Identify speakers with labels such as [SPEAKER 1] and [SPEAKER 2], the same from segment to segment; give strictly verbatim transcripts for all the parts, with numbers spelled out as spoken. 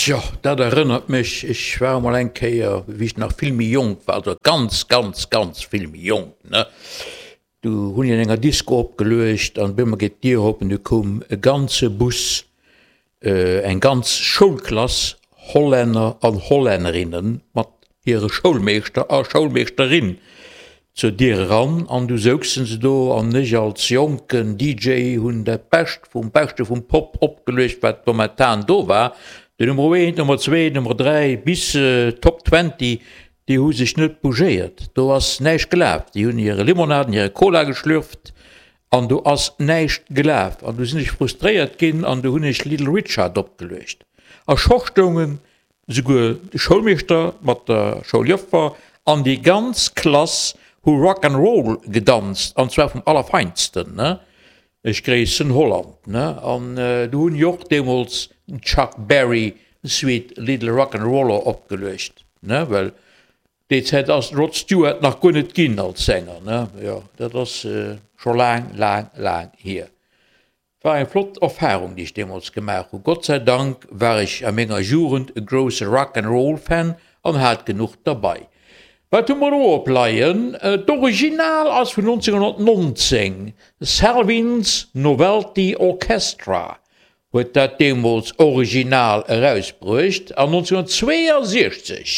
[SPEAKER 1] Tjo, dat erënnert mech, ech war emol eng Kéier, wéi ech nach vill méi jonk war, also ganz, ganz, ganz vill méi jonk, ne, du hunn ech an enger Disco opgeluecht an op eemol geet d'Dier op an du koum e ganze Bus, eng ganz Schoulklass Hollänner an Hollännerinnen mat hire Schoulmeeschter a Schoulmeeschterin zur Dier eran an du souzen se do an ech als jonken D J hunn dat Bescht vum Beschte vum Pop opgeluecht, wat momentan do war. De Nummer eent, Nummer zwee, Nummer dräi bis Top Twenty, déi hu sech net bougéiert. Do ass näischt gelaf. Déi hunn hire Limonade, hire Cola geschlürft an do ass näischt gelaf. An du sinn ech frustréiert ginn an du hunn ech Little Richard opgeluecht. A scho stoungen souguer de Schoulmeeschter mat der Schouljoffer an déi ganz Klass hu Rock and Roll gedanzt, an zwar vum Allerfeinsten, ne? Ech gréissen Holland, ne? An du hunn jo och deemools den Chuck Berry Sweet Little Rock and Roller opgeluecht, ne? Well déi Zäit ass den Rod Stewart nach guer net ginn als Sänger, ne? Jo, dat ass scho laang, laang, laang hier. War eng flott Erfahrung, déi ech deemools gemaach hu. Gott sei Dank war ech a menger Jugend e grousse Rock and Roll Fan an hat genuch derbei. Wat hu mer do opleien? D'Original ass vun nonzénghonnertnonzéng, Salvin's Novelty Orchestra huet dat deemools original erausbruecht an nonzénghonnertzweeënsiechzeg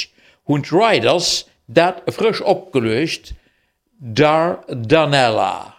[SPEAKER 1] hunn d'Ryders dat frësch opgeluecht, Dardanella.